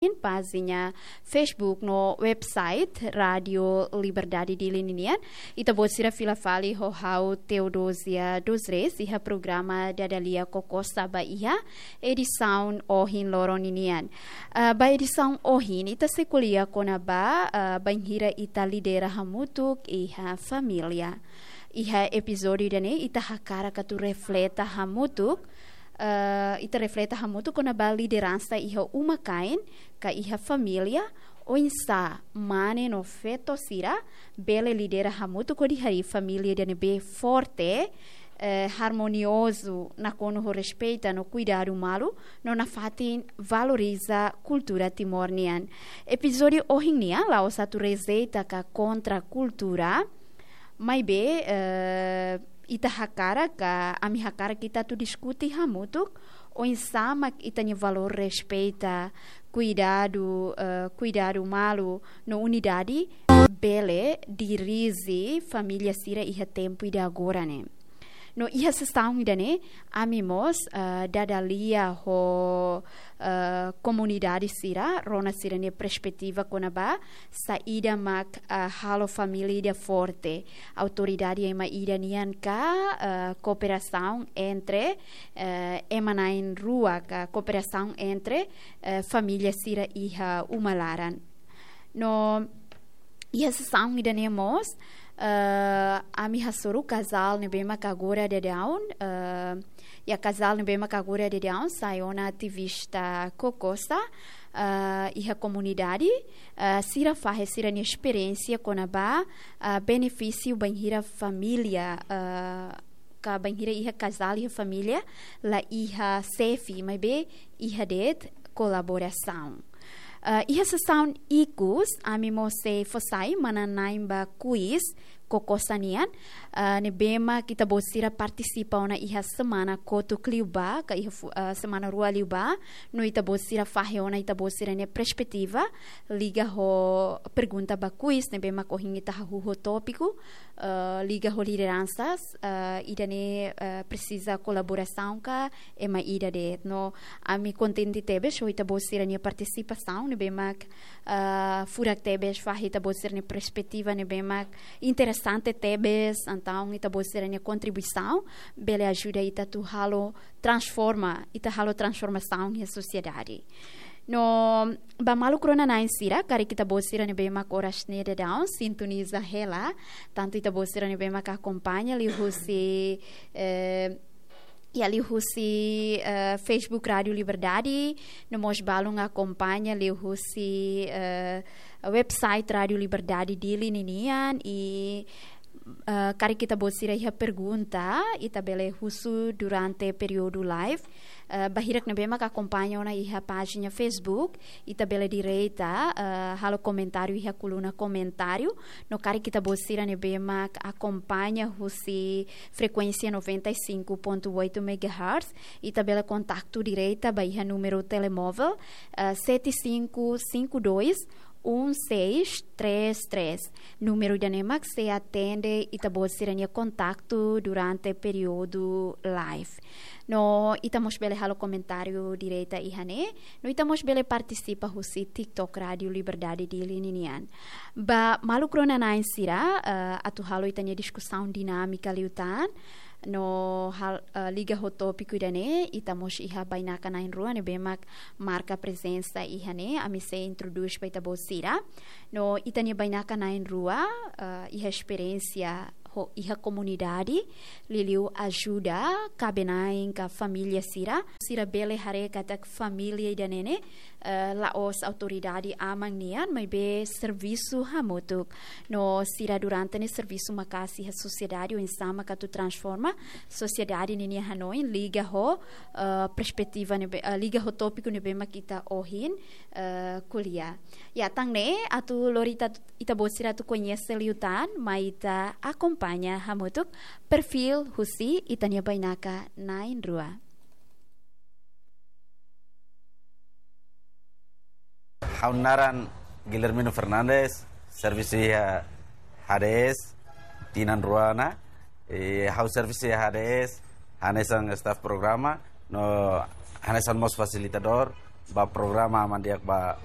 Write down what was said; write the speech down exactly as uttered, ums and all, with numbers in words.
pájina Facebook no website Rádio Liberdade Dili ninian. Ita-boot sira fila fali ho ha'u Teodosia dos Reis iha programa Dada Lia Kokosa ba iha edisaun ohin loron ninian. Ah, ba edisaun ohin, ita sei ko'alia kona-ba, ah, bainhira ita lidera hamutuk iha família. Iha epizódiu ida-ne'e, ita hakarak atu refleta hamutuk, eh, ita refleta hamutuk kona-ba lideransa iha uma-kain, ka iha família, oinsá mane no feto sira bele lidera hamutuk hodi harii família ida ne'ebé forte, eh, harmoniozu, nakonu ho respeita no kuidadu malu, no nafatin valoriza kultura Timor nian. Epizódiu ohin nian, la'ós atu rejeita ka kontra kultura, maibé, eh, ita hakarak ka, ami hakarak ita atu diskute hamutuk, oinsá mak ita-nia valór respeita, kuidadu, eh, kuidadu malu, no unidade, bele dirije família sira iha tempu ida agora ne'e. No iha sesaun ida-ne'e, ami mós, eh, dada lia ho, eh, komunidade sira, rona sira-nia perspetiva kona-ba, saida mak, eh, halo família ida forte. Autoridade ema ida nian ka, eh, kooperasaun entre, eh, ema na'in-rua ka kooperasaun entre, eh, família sira iha uma laran. No iha sesaun ida-ne'e mós, eh, ami hasoru kazál ne'ebé mak agora daudaun, eh, iha kazál ne'ebé mak agora daudaun sai ona ativista Kokosa, eh, iha komunidade, eh, sira fahe sira-nia esperiénsia kona-ba, eh, benefísiu bainhira família, eh, ka bainhira iha kazál iha família, la iha xefe, maibé iha de'it kolaborasaun. Eh, iha sesaun ikus, ami mós sei fó sai manán-na'in ba kuis Kokosa nian, eh, ne'ebé mak ita-boot sira partisipa ona iha semana kotuk liubá, ka iha fu-, eh, semana rua liubá, no ita-boot sira fahe ona ita-boot sira-nia perspetiva, liga ho pergunta ba kuis, ne'ebé mak ohin ita hahú ho tópiku, eh, liga ho lideransas, eh, ida-ne'e, eh, presiza kolaborasaun ka ema ida de'it. No ami kontente tebes ho ita-boot sira-nia partisipasaun, ne'ebé mak, eh, furak tebes fahe ita-boot sira-nia perspetiva, ne'ebé mak interesante tebes, entaun ita-boot sira-nia kontribuisaun bele ajuda ita atu halo transforma, ita halo transformasaun iha sosiedade. No, ba maluk rona-na'in sira, karik ita-boot sira ne'ebé mak oras ne'e daudaun sintoniza hela, tantu ita-boot sira ne'ebé mak akompaña liuhusi, eh, iha liuhusi, eh, Facebook Rádio Liberdade, no mós balun akompaña liuhusi, eh, website Rádio Liberdade Dili ninian, i, eh, karik ita-boot sira iha pergunta, ita bele husu durante períodu live. Eh, ba hirak ne'ebé mak akompaña ona iha pájina Facebook, ita bele direta, eh, halo komentáriu iha koluna komentáriu. No karik ita-boot sira ne'ebé mak akompaña husi frekuénsia noventa e cinco ponto oito megahertz, ita bele kontaktu direta ba iha númeru telemóvel, eh, sete cinco cinco dois um seis três três. Númeru ida-ne'e mak sei atende ita-boot sira-nia kontaktu durante períodu live. No ita mós bele halo komentáriu direta iha ne'e, no ita mós bele partisipa husi TikTok Rádio Liberdade Dili ninian. Ba maluk rona-na'in sira, eh, atu halo ita-nia diskusaun dinámika liután, no hal-, eh, liga ho tópiku ida-ne'e, ita mós iha bainaka na'in-rua ne'ebé mak marka prezensa iha ne'e, ami sei introdús ba ita-boot sira. No ita-nia bainaka na'in-rua, eh, iha esperiénsia ho iha komunidade, liuliu ajuda kaben-na'in ka família sira. Sira bele haree katak família ida-ne'e ne'e, eh, la'ós autoridade aman nian, maibé servisu hamutuk. No sira durante ne'e servisu maka'as iha sosiedade, oinsá mak atu transforma sosiedade ninia hanoin, liga ho, eh, perspetiva ne'ebé, eh, liga ho tópiku ne'ebé mak ita ohin, eh, ko'alia. Ya, tan ne'e, atu lori ita, ita-boot sira atu koñese liután, mai ita akompaña hamutuk perfíl husi ita-nia bainaka na'in-rua. Ha'u naran Guilhermino Fernandes, servisu iha H D S, tinan rua ona. Eh, ha'u servisu iha H D S, hanesan staff programa, no hanesan mós fasilitadór, ba programa Aman Di'ak ba